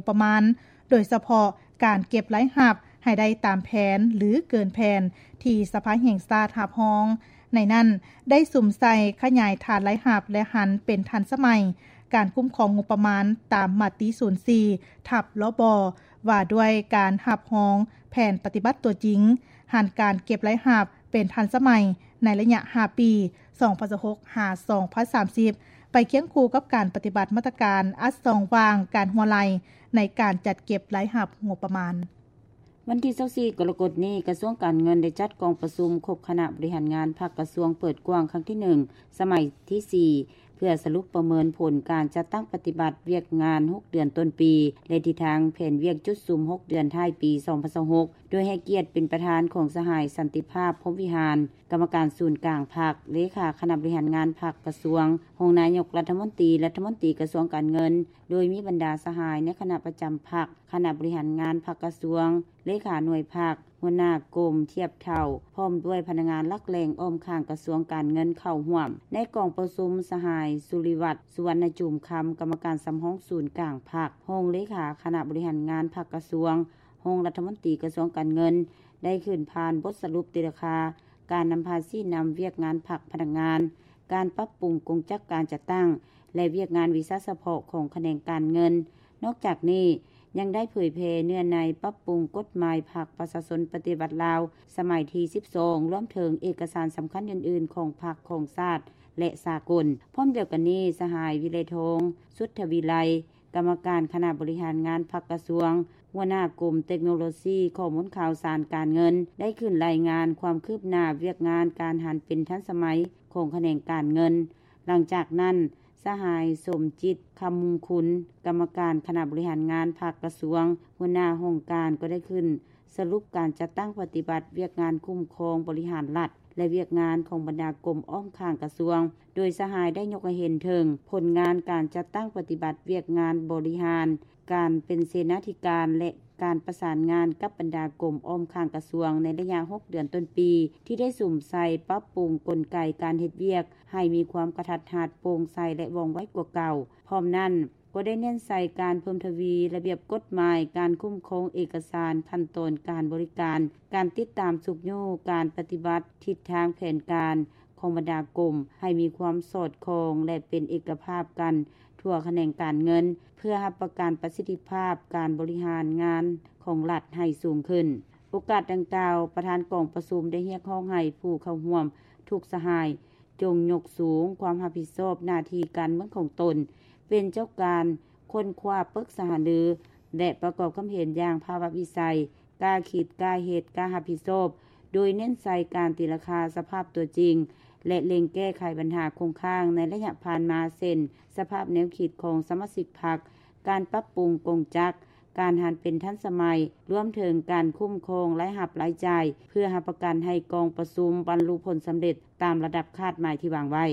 ປະມານ, ໂດຍສະເພາະການເກັບລາຍຮັບໃຫ້ໄດ້ຕາມແຜນ ຫຼື ເກີນແຜນທີ່ສະພາແຫ່ງຊາດຮັບຮອງ. ໃນນັ້ນໄດ້ສຸມໃສ່ຂະຫຍາຍຖານລາຍຮັບ ແລະ ຫັນເປັນທັນສະໄໝ, ການຄຸ້ມຄອງງົບປະມານຕາມມະຕິສູນສີ່ ທັບ ລບ ວ່າດ້ວຍການຮັບຮອງແຜນປະຕິບັດຕົວຈິງ, ຫັນການເກັບລາຍຮັບເປັນທັນສະໄໝໃນໄລຍະຫ້າປີ ສອງພັນຊາວຫົກ ຫາ ສອງພັນສາມສິບ ໄປຄຽງຄູ່ກັບການປະຕິບັດມາດຕະການອັດຊ່ອງວ່າງການຮົ່ວໄຫຼໃນການຈັດເກັບລາຍຮັບງົບປະມານ. ວັນທີຊາວສີ່ ກໍລະກົດນີ້, ກະຊວງການເງິນໄດ້ຈັດກອງປະຊຸມຄົບຄະນະບໍລິຫານງານພັກກະຊວງເປີດກວ້າງຄັ້ງທີໜຶ່ງ ສະໄໝທີສີ່ ເພື່ອສະຫຼຸບປະເມີນຜົນການຈັດຕັ້ງປະຕິບັດວຽກງານຫົກເດືອນຕົ້ນປີ ແລະ ທິດທາງແຜນວຽກຈຸດສຸມຫົກເດືອນທ້າຍປີ ສອງພັນຊາວຫົກ ໂດຍໃຫ້ກຽດເປັນປະທານຂອງສະຫາຍ ສັນຕິພາບ ພົມວິຫານ ກຳມະການສູນກາງພັກ, ເລຂາຄະນະບໍລິຫານງານພັກກະຊວງ, ຮອງນາຍົກລັດຖະມົນຕີ, ລັດຖະມົນຕີກະຊວງການເງິນ, ໂດຍມີບັນດາສະຫາຍໃນຄະນະປະຈຳພັກ, ຄະນະບໍລິຫານງານພັກກະຊວງ, ເລຂາໜ່ວຍພັກ, ຫົວໜ້າກົມທຽບເທົ່າ, ພ້ອມດ້ວຍພະນັກງານຫຼັກແຫຼ່ງອ້ອມຂ້າງກະຊວງການເງິນເຂົ້າຮ່ວມ. ໃນກອງປະຊຸມ, ສະຫາຍ ສຸລິວັດ ສຸວັນນະຈູມຄຳ ກຳມະການສຳຮອງສູນກາງພັກ, ຮອງເລຂາຄະນະບໍລິຫານງານພັກກະຊວງ, ຮອງລັດຖະມົນຕີກະຊວງການເງິນ ໄດ້ຂຶ້ນຜ່ານບົດສະຫຼຸບຕີລາຄາ ການນຳພາຊີ້ນຳວຽກງານພັກພະນັກງານ, ການປັບປຸງກົງຈັກການຈັດຕັ້ງ ແລະ ວຽກງານວິຊາສະເພາະຂອງຂະແໜງການເງິນ. ນອກຈາກນີ້, ຍັງໄດ້ເຜີຍແຜ່ເນື້ອໃນປັບປຸງກົດໝາຍພັກປະຊາຊົນປະຕິວັດລາວ ສະໄໝທີສິບສອງ ລວມເຖິງເອກະສານສຳຄັນອື່ນໆຂອງພັກ, ຂອງຊາດ ແລະ ສາກົນ. ພ້ອມດຽວກັນນີ້, ສະຫາຍ ວິໄລທອງ ສຸດທະວິໄລ ກຳມະການຄະນະບໍລິຫານງານພັກກະຊວງ, ຫົວໜ້າກົມເຕັກໂນໂລຊີຂໍ້ມູນຂ່າວສານການເງິນ ໄດ້ຂຶ້ນລາຍງານຄວາມຄືບໜ້າວຽກງານການຫັນເປັນທັນສະໄໝຂອງຂະແໜງການເງິນ. ຫຼັງຈາກນັ້ນ, ສະຫາຍ ສົມຈິດ ຄຳມຸງຄຸນ ກຳມະການຄະນະບໍລິຫານງານພັກກະຊວງ, ຫົວໜ້າຫ້ອງການ ກໍໄດ້ຂຶ້ນສະຫຼຸບການຈັດຕັ້ງປະຕິບັດວຽກງານຄຸ້ມຄອງບໍລິຫານລັດ ແລະ ວຽກງານຂອງບັນດາກົມອ້ອມຂ້າງກະຊວງ, ໂດຍສະຫາຍໄດ້ຍົກໃຫ້ເຫັນເຖິງຜົນງານການຈັດຕັ້ງປະຕິບັດວຽກງານບໍລິຫານ, ການເປັນເສນາທິການ ແລະ ການປະສານງານກັບບັນດາກົມອ້ອມຂ້າງກະຊວງໃນໄລຍະຫົກເດືອນຕົ້ນປີ ທີ່ໄດ້ສຸມໃສ່ປັບປຸງກົນໄກການເຮັດວຽກໃຫ້ມີຄວາມກະທັດຮັດ, ໂປ່ງໃສ ແລະ ວ່ອງໄວກວ່າເກົ່າ. ພ້ອມນັ້ນ, ກໍໄດ້ເນັ້ນໃສ່ການເພີ່ມທະວີລະບຽບກົດໝາຍ, ການຄຸ້ມຄອງເອກະສານ, ຂັ້ນຕອນການບໍລິການ, ການຕິດຕາມຊຸກຍູ້ການປະຕິບັດ, ທິດທາງແຜນການຂອງບັນດາກົມໃຫ້ມີຄວາມສອດຄ່ອງ ແລະ ເປັນເອກະພາບກັນທົ່ວຂະແໜງການເງິນ, ເພື່ອຮັບປະກັນປະສິດທິພາບການບໍລິຫານງານຂອງລັດໃຫ້ສູງຂຶ້ນ. ໂອກາດດັ່ງກ່າວ, ປະທານກອງປະຊຸມໄດ້ຮຽກຮ້ອງໃຫ້ຜູ້ເຂົ້າຮ່ວມທຸກສະຫາຍ ຈົ່ງຍົກສູງຄວາມຮັບຜິດຊອບໜ້າທີ່ການເມືອງຂອງຕົນ, ເປັນເຈົ້າການຄົ້ນຄວ້າ, ປຶກສາຫາລື ແລະ ປະກອບຄຳເຫັນຢ່າງພາວະວິໄສ, ກ້າຄິດ, ກ້າເຮັດ, ກ້າຮັບຜິດຊອບ, ໂດຍເນັ້ນໃສ່ການຕີລາຄາສະພາບຕົວຈິງ ແລະ ເລັ່ງແກ້ໄຂບັນຫາຄົງຄ້າງໃນໄລຍະຜ່ານມາ ເຊັ່ນ ສະພາບແນວຄິດຂອງສະມາຊິກພັກ, ການປັບປຸງກົງຈັກ, ການຫັນເປັນທັນສະໄໝ, ລວມເຖິງການຄຸ້ມຄອງລາຍຮັບລາຍຈ່າຍ ເພື່ອຮັບປະກັນໃຫ້ກອງປະຊຸມບັນລຸຜົນສຳເລັດຕາມລະດັບຄາດໝາຍທີ່ວາງໄວ້.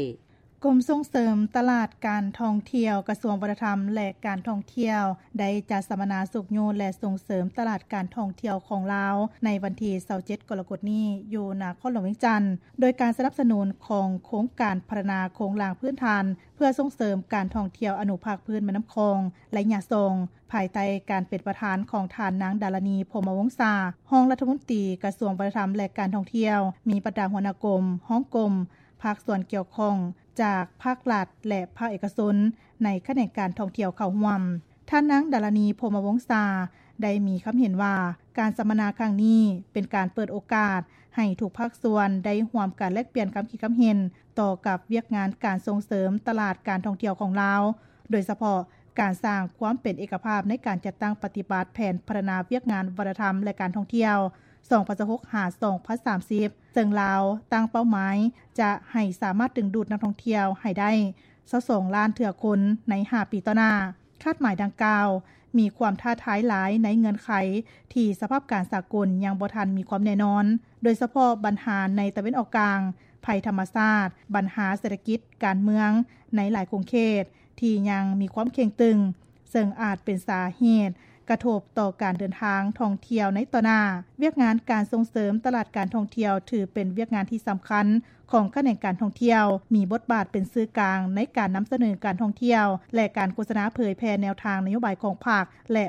ກົມສົ່ງເສີມຕະຫຼາດການທ່ອງທ່ຽວ ກະຊວງວັດທະນະທຳ ແລະ ການທ່ອງທ່ຽວ ໄດ້ຈັດສຳມະນາຊຸກຍູ້ ແລະ ສົ່ງເສີມຕະຫຼາດການທ່ອງທ່ຽວຂອງລາວ ໃນວັນທີຊາວເຈັດ ກໍລະກົດນີ້ ຢູ່ນະຄອນຫຼວງວຽງຈັນ ໂດຍການສະໜັບສະໜູນຂອງໂຄງການພັດທະນາໂຄງລ່າງພື້ນຖານ ເພື່ອສົ່ງເສີມການທ່ອງທ່ຽວອະນຸພາກພື້ນແມ່ນ້ຳຂອງ ໄລຍະສອງ ພາຍໃຕ້ການເປັນປະທານຂອງທ່ານນາງ ດາລານີ ພົມມະວົງສາ ຮອງລັດຖະມົນຕີກະຊວງວັດທະນະທຳ ແລະ ການທ່ອງທ່ຽວ, ມີບັນດາຫົວໜ້າກົມ, ຮອງກົມ, ພາກສ່ວນກ່ຽວຂ້ອງຈາກພາກລັດ ແລະ ພາກເອກະຊົນໃນຂະແໜງການທ່ອງທ່ຽວເຂົ້າຮ່ວມ. ທ່ານນາງ ດາລານີ ພົມມະວົງສາ ໄດ້ມີຄຳເຫັນວ່າ ການສຳມະນາຄັ້ງນີ້ເປັນການເປີດໂອກາດໃຫ້ທຸກພາກສ່ວນໄດ້ຮ່ວມກັນແລກປ່ຽນຄຳຄິດຄຳເຫັນຕໍ່ກັບວຽກງານການສົ່ງເສີມຕະຫຼາດການທ່ອງທ່ຽວຂອງລາວ, ໂດຍສະເພາະການສ້າງຄວາມເປັນເອກະພາບໃນການຈັດຕັ້ງປະຕິບັດແຜນພັດທະນາວຽກງານວັດທະນະທຳ ແລະ ການທ່ອງທ່ຽວ ສອງພັນຊາວຫົກ ຫາ ສອງພັນສາມສິບ ເຊິ່ງລາວຕັ້ງເປົ້າໝາຍຈະໃຫ້ສາມາດດຶງດູດນັກທ່ອງທ່ຽວໃຫ້ໄດ້ ຊາວສອງລ້ານເທື່ອຄົນໃນຫ້າປີຕໍ່ໜ້າ. ຄາດໝາຍດັ່ງກ່າວມີຄວາມທ້າທາຍຫຼາຍໃນເງື່ອນໄຂທີ່ສະພາບການສາກົນຍັງບໍ່ທັນມີຄວາມແນ່ນອນ, ໂດຍສະເພາະບັນຫາໃນຕາເວັນອອກກາງ, ໄພທຳມະຊາດ, ບັນຫາເສດຖະກິດ, ການເມືອງໃນຫຼາຍຂົງເຂດທີ່ຍັງມີຄວາມເຄັ່ງຕຶງ, ເຊິ່ງອາດເປັນສາເຫດກະທົບຕໍ່ການເດີນທາງທ່ອງທ່ຽວໃນຕໍ່ໜ້າ. ວຽກງານການສົ່ງເສີມຕະຫຼາດການທ່ອງທ່ຽວຖືເປັນວຽກງານທີ່ສຳຄັນ ຂອງຂະແໜງການທ່ອງທ່ຽວ, ມີບົດບາດເປັນສື່ກາງໃນການນຳສະເໜີການທ່ອງທ່ຽວ ແລະ ການໂຄສະນາເຜີຍແຜ່ແນວທາງນະໂຍບາຍຂອງພັກ ແລະ